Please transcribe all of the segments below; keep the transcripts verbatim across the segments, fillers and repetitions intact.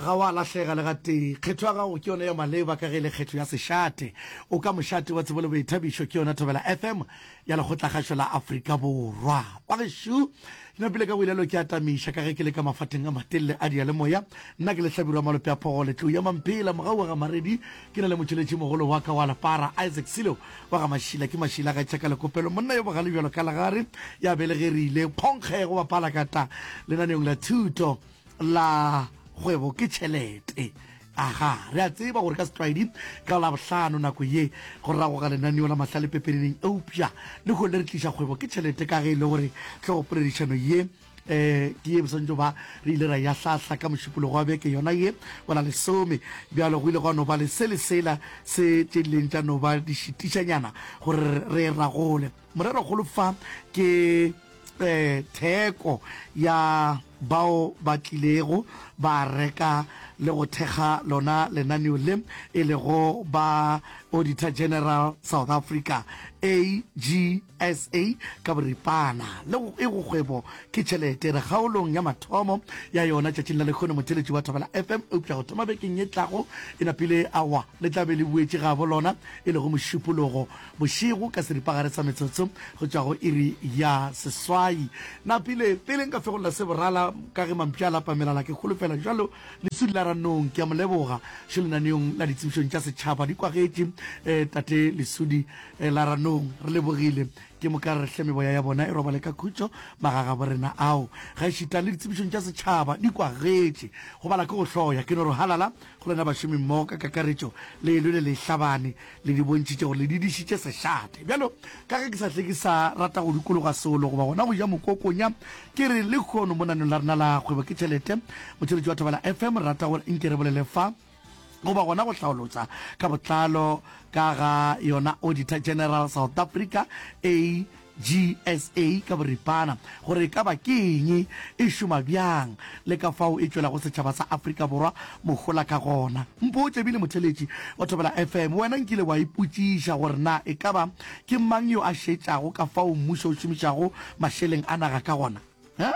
Ga wa lahlega le gatee. Kgetho ya gago ke yona ya maleba ka ge e le kgetho ya sešate. O ka mošate wa tsebo le boithabišo ke yona Thobela F M ya Lekgotlakgašo la Afrika Borwa. Bagešo, ke napile ka boilelo ke atamiša ka ge ke le ka mafateng a matelele a diyalemoya. Nna ke Lehlabirwa Malope a Phogole, Tlou ya Mamphela, Mogau wa ga Maredi, ke na le motšweletši mogolo wa ka wa lepara, Isaac Silo wa ga Mašila, ke Mašila ga tšhaka lekopelo, monna yo bogale bjalo ka legare, ya belegerile phonkge go bapala kata lenaneong la thuto la kgwebo ke tšhelete. Aga, re a tseba gore ka setlwaedi ka Labohlano nako ye go ragoga lenaneo la Mahlale Pepeneneng, eupša lehono le re tliša kgwebo ke tšhelete ka ge e le gore hlogopoledišano ye um ke ye bosantšo ba re ile ra ya hlahla ka Mošupologo wa beke yona ye wa la lesome. Bjalo go ile gwa no ba le se le sela se tše dileng tša no ba di šitišanyana gore re ragole. Morerokgolo fa ke um theko ya bao ba tlilego ba reka le go thekga lona lenaneo le, e lego ba Auditor General South Africa, A G S A ka boripana, le go e go kgwebo ke tšhelete. Re kgaolong ya mathomo ya yona tšatšing la lekgono, motheletši wa Thobela F M, eupša go thoma bekeng ye tlago e napile awa le tla be le boetše gabo lona, e lego Mošupologo bošego ka seripagare sa metsotso go tšwa go iri ya seswai. Napile pele nka fegolla se borala ka ge mampša a lapa melala, ke kholofela jalo Lesudi la Ranong ke a mo leboga šo lenaneong la ditsebišong tša setšhaba di kwagetše. eh, tate Lesudi eh, la Ranong, re lebogile. Ke moka re hle meboya ya bona e robale ka khutšo magagabo rena ao. Gaešita le ditsebišong tša setšhaba di kwagetše, go bala ke go hloya. Ke no re halala go lena bašomi mmogo ka kakaretšo, le lwele le hlabane, le di bontšhitše gore le didišitše sešate. Bjalo ka ge ke sa hle ke sa rata go dikologa solo goba gona go ja mokokonya, ke re le kgono mo nanong la rena la kgwebo ke tšhelete, motšheletši wa Thobela F M, re rata gore nke re bolele fa goba gona go hlaolotsa ka botlalo ka ga yona Auditor General South Africa, A G S A ka boripana, gore e ka ba ke eng, e šoma bjang, le ka fao e tšwelago setšhaba sa Afrika Borwa mohola ka gona. Mpotše bile, motheletši wa Thobela F M, wena nkile wa ipotšiša gore na e ka ba ke mang yo a šetšago ka fao mmušo o šomišago mašeleng a naga ka gona? Ha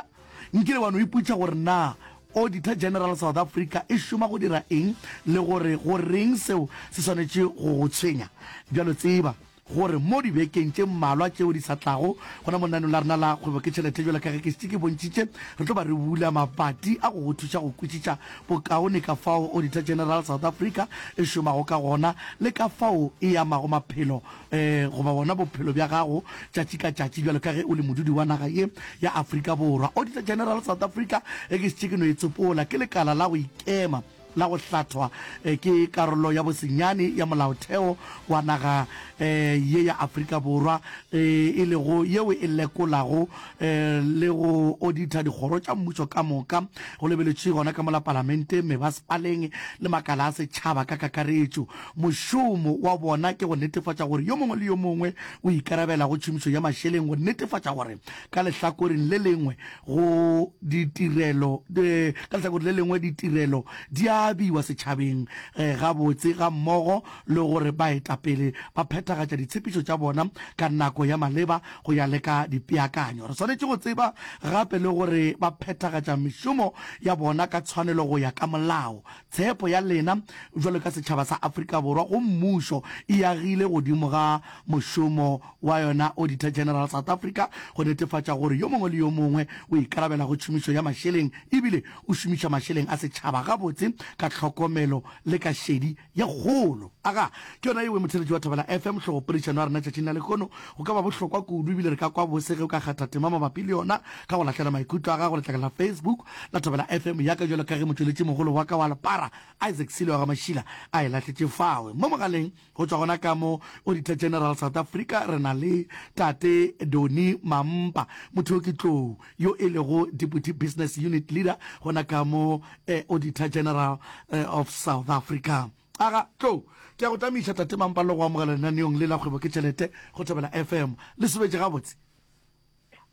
nkile wa no ipotšiša gore na Auditor General South Africa e šoma go dira eng le gore go reng seo se swanetše go go tshwenya? Bjalo tseba gore mo dibekeng tše mmalwa tšeo di sa tlago gona mo lenaneng la rena la kgwebo ke tšhelete, jalo ka ge ke šetše ke bontšhitše, re tlo ba re bula mabati a go go thuša go kwešiša bokaone ka fao Auditor General South Africa e šomago ka gona le ka fao e amago maphelo um goba bona bophelo bja gago tšatši ka tšatši bjalo ka ge o le modudi wa naga ye ya Afrika Borwa. Auditor General South Africa, e ke šetše ke no e tsopola, ke lekala la go ikema la go hlathwa eh, ke karolo ya bosenyane ya molaotheo wa naga eh, ye ya Afrika Borwa, eh, e lego yeo e lekolago le go audita dikgoro tša mmušo ka moka, go lebeletše gona ka mola palamenteng, mebasepaleng le makala a setšhaba ka kakaretšo. Mošomo wa bona ke go netefatša gore yo mongwe le yo mongwe o ikarabela go tšhomišo ya mašeleng, go netefatša gore ka lehlakoreng le lengwe go ditirelo ka lehlakoreng le lengwe ditirelo di abiwa setšhabeng gabotse, ga mmogo le gore baetapele ba phethagatša ditshepišo tša bona ka nako ya maleba go ya le ka dipeakanyo. Re swanetše go tseba gape le gore ba phethagatša mešomo ya bona ka tshwanelo go ya ka molao. Tshepo ya lena jwalo ka setšhaba sa Afrika Borwa go mmušo e agile godimo ga mošomo wa yona Auditor General South Africa go netefatša gore yo mongwe le yo mongwe o ikarabela go tšhomišo ya mašeleng ebile o šomiša mašeleng a setšhaba gabotse ka tlhokomelo le ka šedi ye kgolo. Aga, ke yona yeo, motheletši wa Thobela F M, hlogopoledišano ya rena tšatšing la lehono. Go ka ba bohlokwa kudu ebile re ka kwa bose ge o ka kgatha tema mabapi le yona ka go lahlela maikutlo a gago letlakeng la Facebook la Thobela F M ya ka, jalo ka ge motšweletši mogolo wa ka wa lepara Isaac Silo wa ga Mašila a e lahletše fawe. Mo mogaleng go tšwa gona ka mo Auditor General South Africa re na le tate Doni Mampa, motho yo ke tlou yo e lego Deputy Business Unit Leader gona ka mo eh, Auditor General eh, of South Africa. Aga, tlou, ke a go tamiša, tate Mampa, le go amogela lenaneong le la kgwebo ke tšhelete go Thobela F M. Le sobetše gabotse?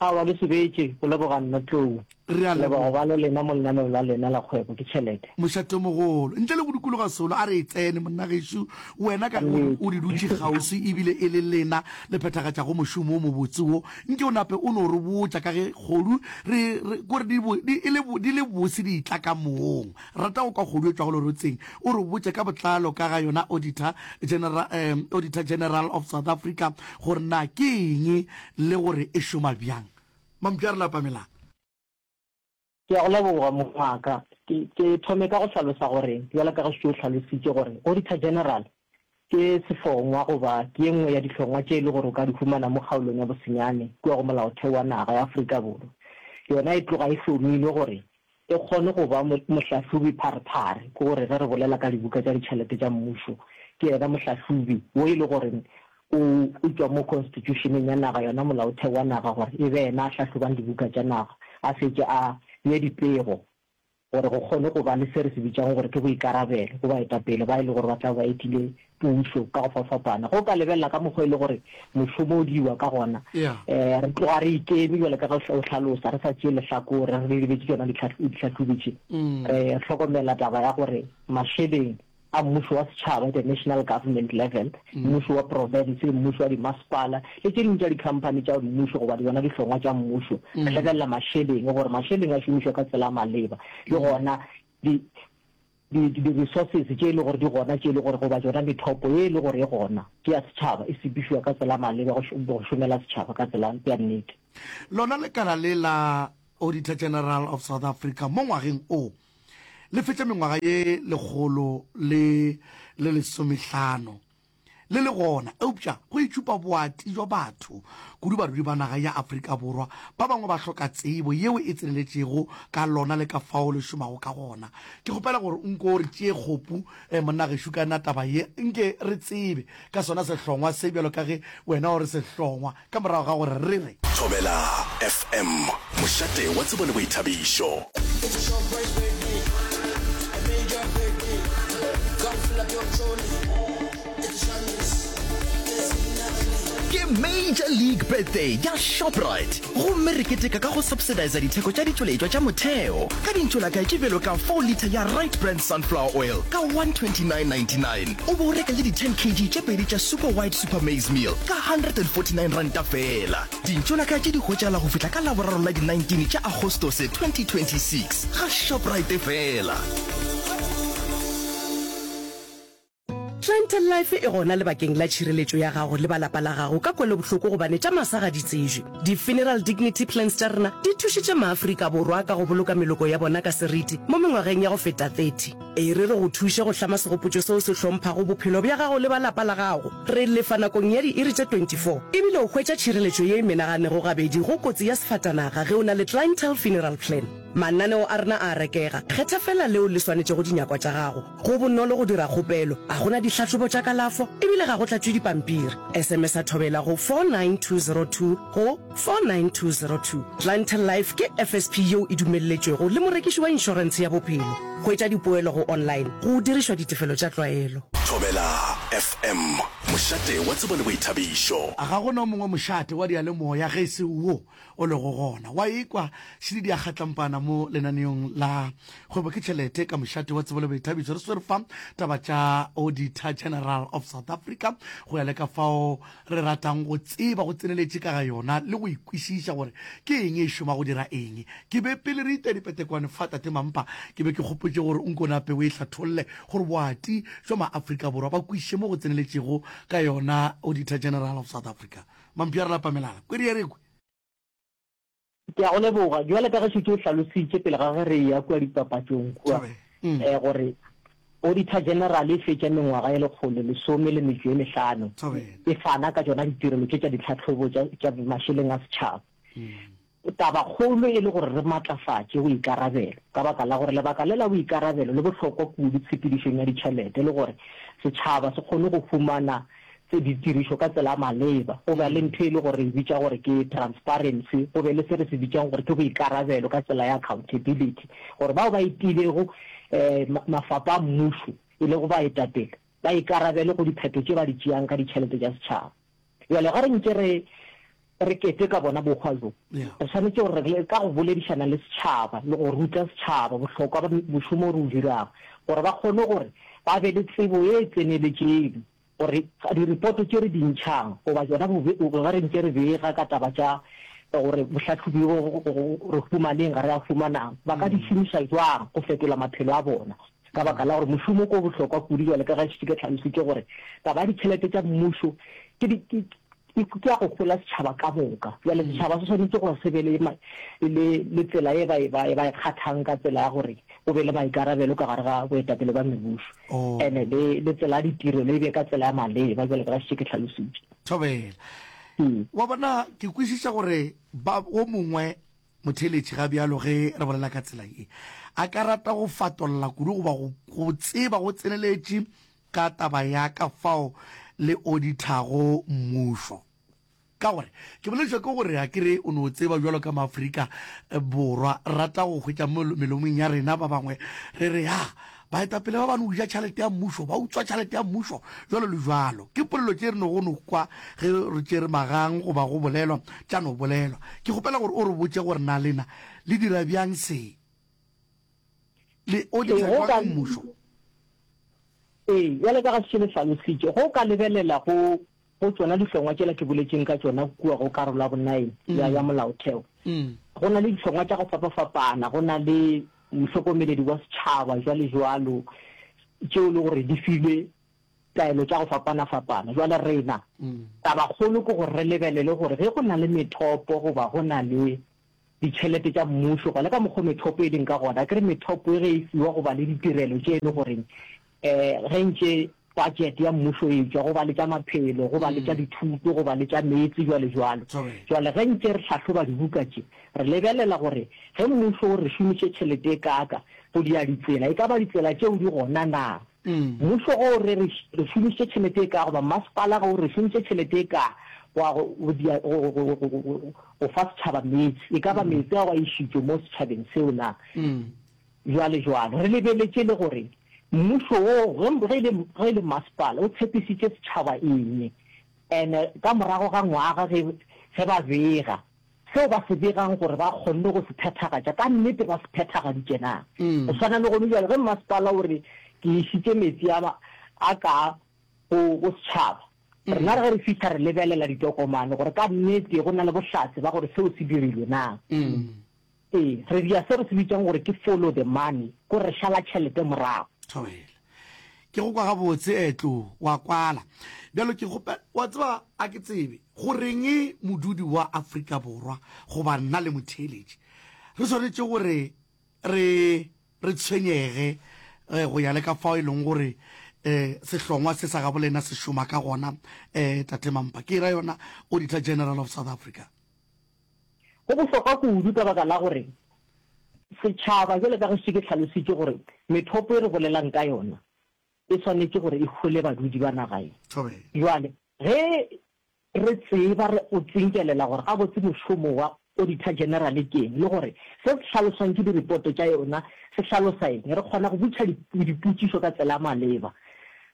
Aowa, le sebetše, go leboga nna Tlou. Re a Leboga leboga. go ba le lena mo lenaneong la lena la Kgwebo ke Tšhelete. Mošatomogolo, ntle le go dikologa solo, a re e tsene, monna gešo. Wena ka Ka ge o nnete. o di dutše kgauswi ebile e le lena le phethagatšago mošomo wo mobotse wo, nke o nape o no re botša ka ge kgodu re, re, kore di bo, di, e le, di le bose di etla ka moong. Rata go kwa kgodu e tšwago lerotseng. O re botše ka botlalo ka ga yona Auditor General, um, Auditor General of South Africa gore na ke eng le gore e šoma bjang. Mampša re lapa melala. Ke a go leboga, mong wa ka. Ke, ke thome ka go hlalosa gore, bjalo ka ge šetše o hlalositše gore Auditor General ke sehlongwa goba ke ye nngwe ya dihlongwa tše e le gore o ka di humana mo kgaolong ya bosenyane kua go Molaotheo wa naga ya Afrika Borwa. Yona e tloga e hlomilwe gore e kgone go ba mohlahlobi pharephare, ke gore ge re bolela ka dibuka tša ditšhelete tša mmušo, ke yena mohlahlobi wo e le gore o o tšwa mo constitution-eng ya naga, yona molaotheo wa naga, gore e be yena a hlahlobang dibuka tša naga, a fetše a bee dipego gore go kgone go ba le se re se bitšago gore ke boikarabelo go baetapele ba e le gore ba tla be ba etile pušo ka go fapfapana. Ge o ka lebelela ka mokgwa e le gore mošomo o diwa ka gona, Yeah. um re tloga re ikeme bjalo ka ge o hlalosa, re sa tšee lehlakore, re lebetše tšona dihlahlobi tše. Mm. Re hlokomela taba ya gore mašeleng a mmušo wa setšhaba, the national government level, mmušo wa profense, mmušo wa dimasepala le tše dingwe tša dikhamphani tša mmušo goba yona dihlongwa tša mmušo, re lebelela mašeleng gore mašeleng a šomišwa ka tsela ya maleba, le gona di di di-resources tše e le gore di gona, tše e le gore goba tšona methopo ye e le gore e gona ke ya setšhaba, e sepedišwa ka tsela ya maleba go go šomela setšhaba ka tsela ya nnete. Lona lekala le la Auditor General of South Africa mo ngwageng o le fetša mengwaga ye lekgolo le le lesomehlano le le gona, eupša go itšhupa boati bja batho, kudu badudi ba naga ya Afrika Borwa, ba bangwe ba hloka tsebo yeo e tseneletšego ka lona le ka fao le šomago ka gona. Ke kgopela gore nko re tšee kgopu, eh, monna gešo, ka yona taba ye, nke re tsebe ka sona sehlongwa se bjalo ka ge wena o re sehlongwa, ka morago ga gore re re. Thobela F M, mošate wa tsebo le boithabišo. Ke Major League Birthday ya Shoprite, gomme re keteka ka go subsidiza ditheko tša ditšweletšwa tša motheo ka dintšolakae tše bjalo ka four litre ya Right Brand Sunflower Oil ka one twenty-nine ninety-nine, o be o reke le di ten kg tše pedi tša Super White Super Maize Meal ka hundred and forty-nine ranta feela. Dintšolakae tše di hwetšagala go fihla ka Laboraro la di nineteen tša Agostose twenty twenty-six ga Shoprite feela. Clientele Life e gona lebakeng la tšhireletšo ya gago le ba lapa la gago ka kwelobohloko gobane tša masa ga di tsejwe. Di-funeral dignity plans tša rena di thušitše maAfrika Borwa ka go boloka meloko ya bona ka seriti mo mengwageng ya go feta thirty. E re re go thuše go hlama segopotšo seo se hlomphago bophelo bja gago le ba lapa la gago. Re lefa nakong ya diiri tše twenty-four ebile o hwetša tšhireletšo ye e menaganego gabedi go kotsi ya sefatanaga ge o na le Clientele Funeral Plan. Mananeo a rena a a rekega, kgetha feela leo le swanetšego dinyakwa tša gago. Go bonolo go dira kgopelo, a go na dihlahlobo tša kalafo ebile ga go tlatšwe dipampiri. S M S a Thobela go four nine two zero two go four nine two zero two. Clientele Life ke F S P yeo e dumelletšwego le morekiši wa inšorentshe ya bophelo. Hwetša dipoelo go online go dirišwa ditefelo tša tlwaelo. Thobela F M, mošate wa tsebo le boithabišo. Ga go na o mongwe mošate wa diyalemoya ge e se wo o lego gona. Wa ikwa šidi ya kgatlampana mo lenaneong la Kgwebo ke Tšhelete ka mošate wa tsebo le boithabišo. Re swere fa taba tša Auditor General of South Africa go ya le ka fao re ratang go tseba go tseneletše ka ga yona le go ikwešiša gore ke eng e šoma go dira eng. Ke be pele re ita dipetekwane fa Tate Mampa, ke be ke kgopotše gore o nko nape o e hlatholle gore boati bja maAfrika Borwa ba kwešiše mo go tseneletšego ka yona Auditor General of South Africa. Mampša re lapa melala. Kwedi ya re kwe. Ke a go leboga. Bjale ka ge šetše o hlalositše pele ga ge re eya kua dipapatšong kua, Thabela. Mm. eh, gore Auditor General e fetša mengwaga e lekgolo lesome le metšo e mehlano Thabela. e fana ka tšona ditirelo tše tša ditlhahlobo tša, tša mašeleng a setšhaba. Tabakgolo e le gore re matlafatše boikarabelo, ka baka la gore lebaka le la boikarabelo le bohlokwa kudu tshepedišong ya ditšhelete, le gore setšhaba se kgone go humana tse ditirišo ka tsela ya maleba, go be le ntho e le gore re e bitša gore ke transparency, go be le se re se bitšang gore ke boikarabelo ka tsela ya accountability, gore bao ba etilego um mafapa a mmušo e lego baetapele ba ikarabele go diphetho tše ba di tšeang ka ditšhelete tša setšhaba. Bjale ge re ntše re re keteka bona bohwa bjo, re swanetše gore re ka go boledišana le setšhaba le go ruta setšhaba bohlokwa ba mošomo o re o dirago, gore ba kgone gore ba be le tsebo ye e tseneletšeng gore diripoto tše re di ntšhang goba tšona ge re ntše re bega ka taba tša gore bohlahlobi bo re humaneng ga re a humanang, ba ka di šomiša bjang go fetola maphelo a bona. Ka baka la gore mošomo ke o bohlokwa kudu bjale ka ge šetše ke hlalositše gore taba ya ditšhelete tša mmušo ke di, ke, ke, ke ya go hola setšhaba ka moka. Bjale setšhaba se swanetše gore se be le, le, le tsela ye ba e, ba e, ba e kgathang ka tsela ya gore go be le maikarabelo ka gare ga boetapele ba mebušo. Oh. Ene le, le tsela ya ditirelo e be ka tsela ya maleba bjale ka ge šetše ke hlalositše. Thobela. Ee. Wa bona, ke kwešiša gore ba, wo mongwe Motheeletši ga bjalo ge re bolela ka tsela ye, a ka rata go fatolla kudu goba go, go tseba go tseneletše ka taba ya ka fao le odithago mmušo. Ka gore, ke boledišwa ke gore a ke re o no tseba bjalo ka Maafrika Borwa, re rata go hwetša mo melomong ya rena ba bangwe re re, ya, baetapele ba ba no ja tšhelete ya mmušo, ba utswa tšhelete ya mmušo, jwalo le jwalo. Ke polelo tše re nogo no kwa ge re tšere magang goba go bolelwa, tša no bolelwa. Ke kgopela gore o re botše gore na lena le dira bjang se? Le Ee, oditha go jwang ka, mmušo? ee, bjale ka ga se le hlalositše, go ka lebelela go Go tšona dihlongwa tšela ke boletšeng ka tšona kua go karolo ya bonaene ya, ya Molaotheo, go na le dihlongwa tša go fapafapana, go na le mohlokomeledi wa setšhaba, jwalejwalo, tšeo e le gore di filwe taelo tša go fapanafapana. Jwale rena, tabakgolo ke gore re lebelele gore ge go na le methopo goba go na le ditšhelete tša mmušo, goba le ka mokgo methopo e leng ka gona, akere methopo e ge e fiwa goba le ditirelo tše e le goreng um ge ntše budget ya mmušo e tšwa, go ba le tša maphelo, go ba le tša dithuto, go ba le tša meetse, jwale jwalo. Jwale ge ntše re hlahloba dibuka tše, re lebelela gore ge mmušo o re šomiše tšhelete e kaaka go dia ditsela, e ka ba ditsela tšeo di gona na? Mmušo ge o re re šomišitše tšhelete e kaa goba mmasepala ge o re šomišitše tšhelete e kaa go ya go dia go go go go fa setšhaba meetse, e ka ba meetse ao a išitšwe mo setšhabeng seo na? Jwale jwalo, re lebeletše le gore mmušo wo, ge, ge e le, ge e le masepala, o tshepisitše setšhaba eng? And ka morago ga ngwaga ge, ge ba bega, seo ba se begang gore ba kgonne go se phethagatša, ka nnete ba se phethagaditše na? Go swana le gone bjale, ge masepala o re, Ke išitše metsi a, a ka go, go setšhaba, rena ge re fihla re lebelela ditokomane gore ka nnete go na le bohlatse ba gore seo se dirilwe na. Ee, re dira se re se bitšang gore ke follow the money, ko re šala tšhelete morago. Thobela. Ke go kwa gabotse, Tlou, wa kwala. Bjalo ke kgopela, wa tseba, a ke tsebe go reng modudi wa Afrika Borwa goba nna le motheeletši re swanetše gore re, re tshwenyege go ya le ka fao e leng gore um sehlongwa se sa gabolena se šoma ka gona, um Tate Mampa. Ke ra yona Auditor General of South Africa. Go bohlokwa kudu ka baka la gore setšhaba, bjalo ka ge šetše ke hlalositše gore methopo e re bolelang ka yona e swanetše gore e hole badudi ba naga ye. Bjale ge re tseba re o tsinkelela gore gabotse mošomo wa Auditor General ke eng le gore se se hlaloswang ke diripoto tša yona se hlalosa eng, re kgona go botšiša dipotšišo ka tsela ya maleba.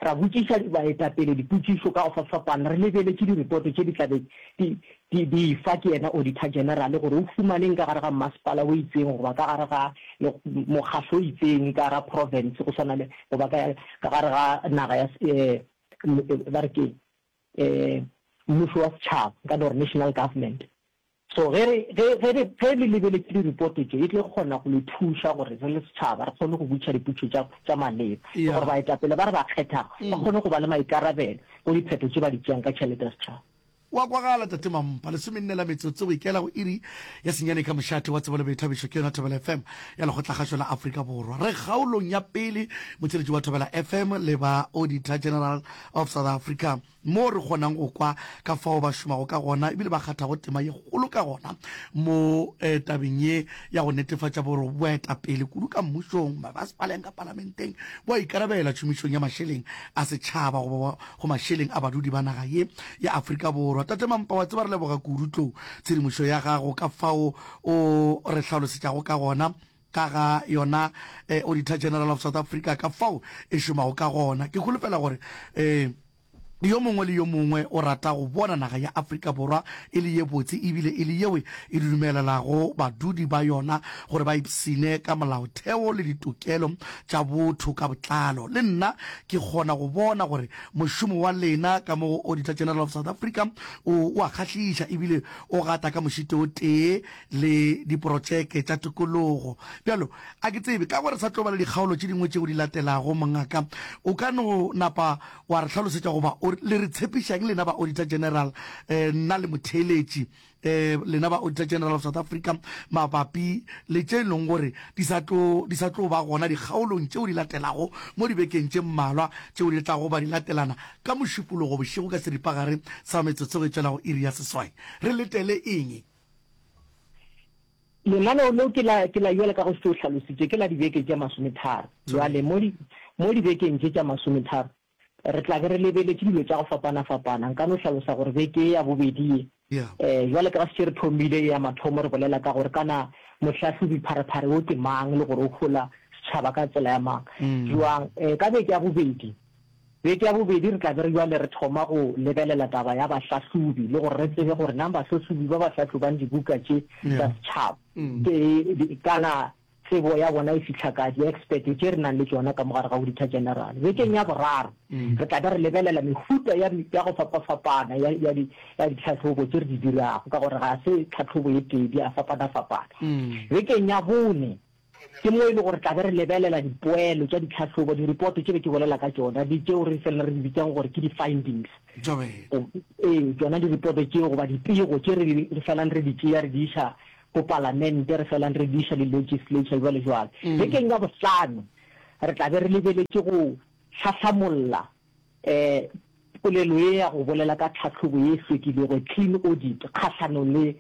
Ra botšiša baetapele dipotšišo ka go fapafapana re lebeletše diripoto tše di tla be di, di, di efa ke yena Auditor General gore o humaneng ka gare ga mmasepala o itseng goba ka gare ga mokgahlo o itseng ka gara province go swana le goba ka, ka gare ga naga ya, eh, ba re ke eh, mmušo wa setšhaba, nka no re national government. So ge re, ge, ge re, ge le lebeletše diripoto tše, e tlo kgona go le thuša gore re le setšhaba re kgone go botšiša dipotšišo tša, tša maleba, le Yeah. gore baetapele ba re ba kgethago ba kgone go ba le maikarabelo go diphetho tše ba di tšeang ka tšhelete ya setšhaba. Wa kwagala, Tate Mampa. Lesomenne la metsotso go ikela go iri ya senyane ka mošate wa tsebo le boithabišo ke yona Thobela F M ya Lekgotlakgašo la Afrika Borwa. Re kgaolong ya pele, motheeletši wa Thobela F M le ba Auditor General of South Africa moo re kgonang go kwa ka fao ba šomago ka gona ebile ba kgathago tema ye kgolo ka gona mo tabeng ye ya go netefatša gore boetapele kudu ka mmušong, mebasepaleng, ka palamenteng bo a ikarabela tšhomišong ya mašeleng a setšhaba goba go mašeleng a badudi ba naga ye ya Afrika Borwa. Tate Mampa, wa tseba re leboga kudu tlou tshedimošo ya gago ka fao o re hlalosetšago ka gona ka ga yona Auditor General of South Africa ka fao e šomago ka gona. Ke holofela gore um Yo mongwe le yo mongwe o rata go bona naga ya Afrika Borwa e le ye botse ebile e le yeo e dumelelago badudi ba yona gore ba ipshine ka molaotheo le ditokelo tša botho ka botlalo. Le nna ke kgona go bona gore mošomo wa lena ka mo go Auditor General of South Africa o o a kgahliša ebile o gata ka mošito o tee le diprotšeke tša tokologo. Bjalo, a ke tsebe, ka gore sa tlo ba le dikgaolo tše dingwe tšeo di latelago, mongaka, o ka no napa wa re hlalosetša goba o le re tshepišang lena ba Auditor General, eh, nna le motheeletši, eh, lena ba Auditor General of South Africa, mabapi le tše e leng gore di sa tlo, di sa tlo ba gona dikgaolong tšeo di latelago mo dibekeng tše mmalwa tšeo di tlago ba di latelana ka Mošupologo bošego ka seripagare sa metsotso go e tšwela go iri ya seswai. Re letele eng? Lenaneo leo ke la, ke la bjale ka go se o hlalositše, ke la dibeke tše masometharo. Bjale mo di, mo dibekeng tše tša masometharo, re tla be re lebeletše dilo tša go fapana-fapana. Nka no hlalosa gore beke ye ya bobedi ye, eh, bjale ka ga šetše re thomile ye ya mathomo re bolela ka gore kana mohlahlobi-pharephare wo ke mang le gore o hola setšhaba ka tsela ya mang, bjang. Eh, ka beke ya bobedi, Beke ya bobedi re tla be re bjale re thoma go lebelela taba ya bahlahlobi le gore re tsebe gore na bahlahlobi ba ba hlahlobang dibuka tše tša setšhaba ke kana tsebo ya bona e fihla kae, di-expert tše re nang le tšona ka mo gare ga Auditor General. Bekeng ya boraro re tla be re lebelela mehuta ya ya go fapafapana ya ya di ya ditlhahlobo tše re di dirago ka gore ga se tlhahlobo e tee, di a fapanafapana. Bekeng ya bone Ke mo e le gore tla be re lebelela dipoelo tša ditlhahlobo, diripoto tše be ke bolela ka tšona, di tšeo re felela re di bitsang gore ke di-findings. Ee, tšona diripoto tšeo goba dipego tše re re felang re di tšea re di iša ko palamente, re felang re di iša le legislature jwalo jwalo. Bekeng ya bohlano re tla be re lebeletše go hlahlamolla um polelo ye ya go bolela ka tlhahlobo ye e hlwekilego, clean audit, kgahlanong le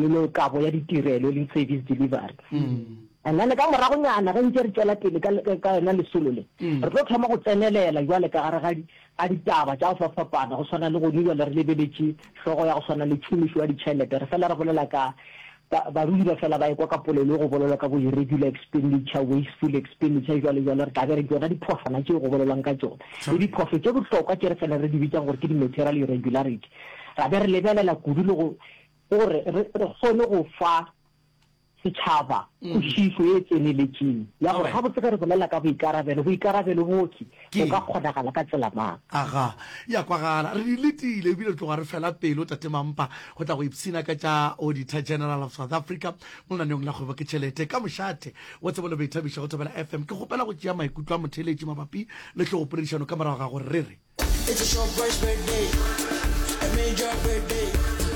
le kabo ya ditirelo, e leng service delivery. And then ka moragonyana ge ntše re tšwela pele ka ka yona lesolo le, re tlo thoma go tsenelela jwale ka gare ga ga ditaba tša go fapafapana, go swana le gone jwale re lebeletše hlogo ya go swana le tšhomišo ya ditšhelete, re fela re bolela ka Ba, barui ba fela ba ekwa ka polelo e go bolelwa ka bo irregular expenditure, wasteful expenditure, jwalo jwalo, re tla be re tšona diphošwana tšeo go bolelwang ka tšona. Le diphošo tše bohlokwa tše re felang re di bitsang gore ke di-material irregularity. Ra be re lebelela kudu le go, gore re, re kgone go fa setšhaba kwešišo e tseneletšeng ya gore gabotse ge re bolela ka boikarabelo, boikarabelo bohle bo ka kgonagala ka tsela mang. Aga, ya kwagala. Re di letile ebile re tloga re fela pelo, Tate Mampa, go tla go ipshina ka tša Auditor General of South Africa mo lenaneong la Kgwebo ke Tšhelete ka mošate wa tsebo le boithabišo go Thobela F M. Ke kgopela go tšea maikutlo a motheeletši mabapi le hlogopoledišano ka morago ga gore re re. It's a Shoprite's birthday, a major birthday.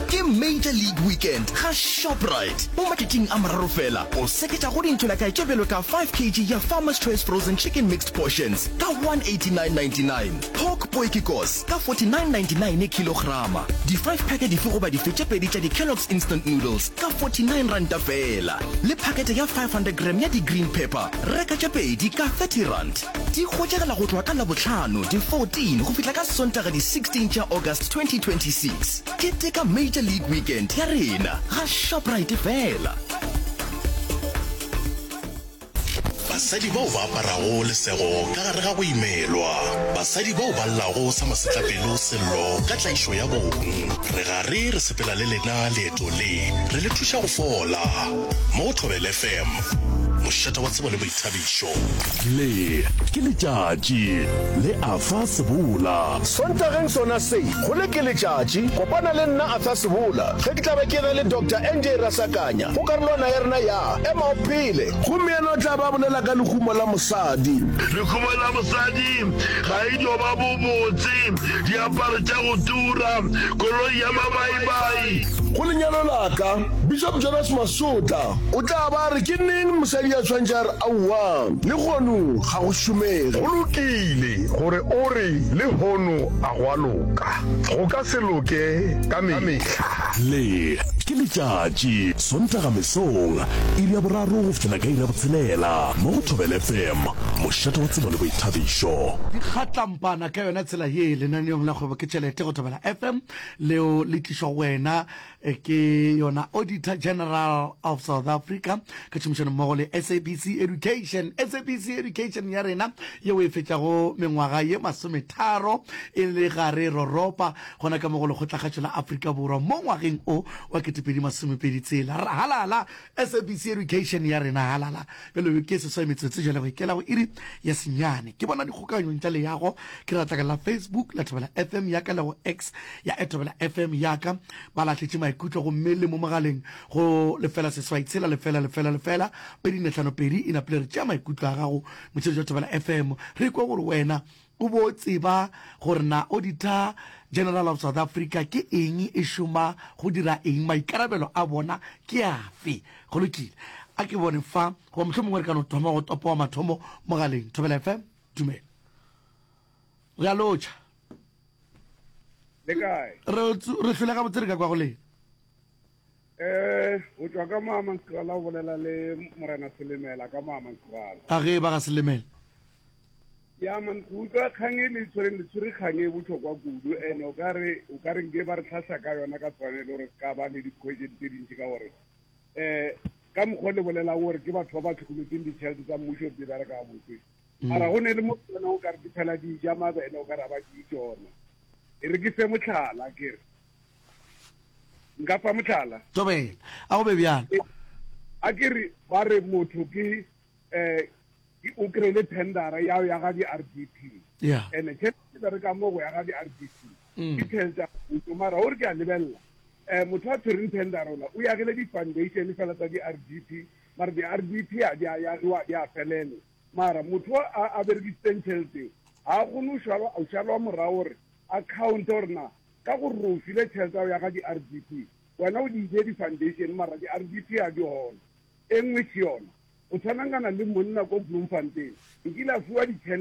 Ke Major League Weekend ga Shoprite. Mo matšatšing a mararo fela, o seketša go dintšolakae tše bjalo ka five kg ya Farmer's Choice Frozen Chicken Mixed Portions ka one eighty-nine ninety-nine, Pork Potjiekos ka forty-nine ninety-nine khilograma, di-five pack dife goba dife tše pedi tša di-Kellogg's Instant Noodles ka forty-nine ranta fela, le phakete ya five hundred gram ya di-green pepper, reka tše pedi ka thirty rand. Di hwetšagala go tloga ka Labohlano di fourteen go fihla ka Sontaga di sixteen tša August twenty twenty-six. Keteka Major League Weekend ya rena ga Shoprite fela. Basadi bao ba aparago lesego ka gare ga go imelwa. Basadi bao ba llago sa masetlapelo sello ka tlaišo ya bong. Re gare re sepela le lena leeto le, re le thuša go fola. Mo go Thobela F M, mošate wa tsebo le boithabišo. Le ke letšatši le Arthur Sebola. Sontageng sona se, go le ke letšatši, kopana le nna Arthur Sebola ge ke tla be ke na le Doctor N J Rasakanya go karolwana ya rena ya Ema o Phele. Gomme yena o tla ba bolela ka lehumo la mosadi. Lehumo la mosadi ga e dio ba bobotse, diaparo tša go tura, koloi ya mabaibai. Go lenyalo la ka, Bishop Jonas Masotla o tla ba a re ke neng mosadi a tshwanetše a re aowa, lehono ga go šomege. Go lokile gore o re lehono a go a loka. Go ka se loke ka mehla. Le Ke letšatši, Sontaga mesong, iri ya boraro go fihlela ka iri ya botshelela, mo go Thobela FM, mošate wa tsebo le boithabišo. Di kgatlampana ka yona tsela ye lenaneong la Kgwebo ke Tšhelete go Thobela FM, leo le tlišwa go wena ke yona Auditor General of South Africa ka tšhomišano mmogo le SABC Education. SABC Education ya rena yeo e fetšago mengwaga ye masometharo e le gare roropa gona ka mo go Lekgotlakgašo la Afrika Borwa mo ngwageng o wa ketepedi masomepedi tshela. Halala SABC Education ya rena, halala. Bjalo ke seswai metsotso jale go ikela go iri ya senyane. Ke bona dikgokanyong tša leago ke ratla ka la Facebook la Thobela FM ya ka le go X ya Thobela FM ya ka. Ba lahletše maikutlo gomme le mo mogaleng go lefela seswai tshela lefela lefela lefela pedi nne hlano pedi e napile re tšea maikutlo a gago motšheletši wa Thobela FM re kwe gore wena o bo tseba gore na Auditor General of South Africa ke eng e šoma go dira eng maikarabelo a bona ke afe go lokile a ke bone fa goba mohlomongwe re ka no thoma go topa wa mathomo mogaleng Thobela FM dumela re a lotšha Le kae? Re re hlole gabotse re ka kwa go lena. Eh, o tšwa ka Moamantskrala o bolela le Morena Selemela ka Moamantskrala. A ge ba ga Selemela. Ya man, go utlwa kgang e le tshwereng le tshwere kgang e botlhokwa kudu and o ka re o ka re nke ba re tlhahla ka yona ka tshwanelo gore ka ba le di-question tse dintši ka gore eh ka mokgwa le bolelang gore ke batho ba ba tlhokometseng ditšhelete tsa mmušo di bereka gabotse mara go ne le mo tsona o ka re di phela di ja mabele o ka re ba di tsona e re ke fe motlhala ke re nka fa motlhala tobela a go be bjalo a ke re ba re motho ke um o kry-ile tendera ya ya ga di-r d p yeah and tšhelete bereka mo go ya ga di-r d p ke tšhelete ya mmušo mara gore ke a lebelela um motho a tshwereng tendera ola o yagile di-foundation fela tsa di-r d p mara di-r d p a di a yagiwa di a felele mara motho a a berekisitseng tšhelete ga a kgone go šalwa morago gore account gore na ka gore re o file tšhelete ya ga di-r d p wena o di ile di-foundation mara di-r d p a di gona e nngwe ke yona o tshwanangana le monna ko Bloemfontein nkile a fiwa ditšhelete